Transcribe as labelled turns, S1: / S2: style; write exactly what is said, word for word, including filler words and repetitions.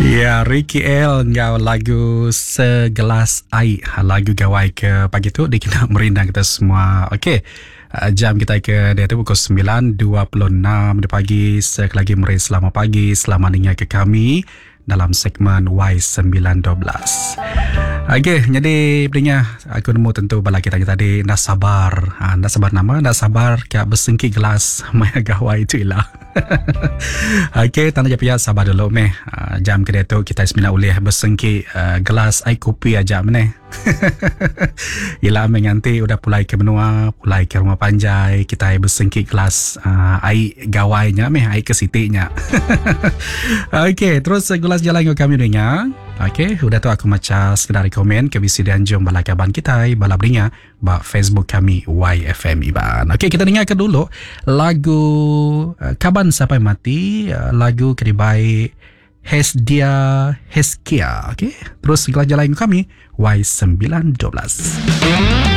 S1: Ya, Ricky El enggau lagu Segelas Ai. Lagu gawai ke pagi tu dikena merindang kita semua. Okey. Eh, jam kita ke diatu pukul semilan dua puluh enam di pagi. Sekali lagi meri selamat pagi, selamat ninga ke kami dalam segmen Y sembilan dua belas. Okey, jadi pendengar, aku nemu tentu bala kita tadi enda sabar. Ha, enda sabar nama, enda sabar ke bersengki gelas maya gawai itu ilah. Okey, tanda je pihak sabar dulu meh. Ha, jam ke diatu kita semina ulih bersengki, uh, gelas air kopi aja meneh. Ila meh nganti udah pulai ke menua, pulai ke rumah panjai, kita bersengki gelas, uh, air gawainya meh, air ke sitinya. Okey, terus gelas jalan dengan kami dengar. Okey, udah tu aku baca sekedar komen ke bisi dianjung bala kaban kita, bala beringa ba Facebook kami Y F M Iban. Okey, kita dengarkan dulu lagu, uh, Kaban Sampai Mati, uh, lagu kedibai Hesdia Heskia. Okey, terus gelas jalan kami Y sembilan dua belas.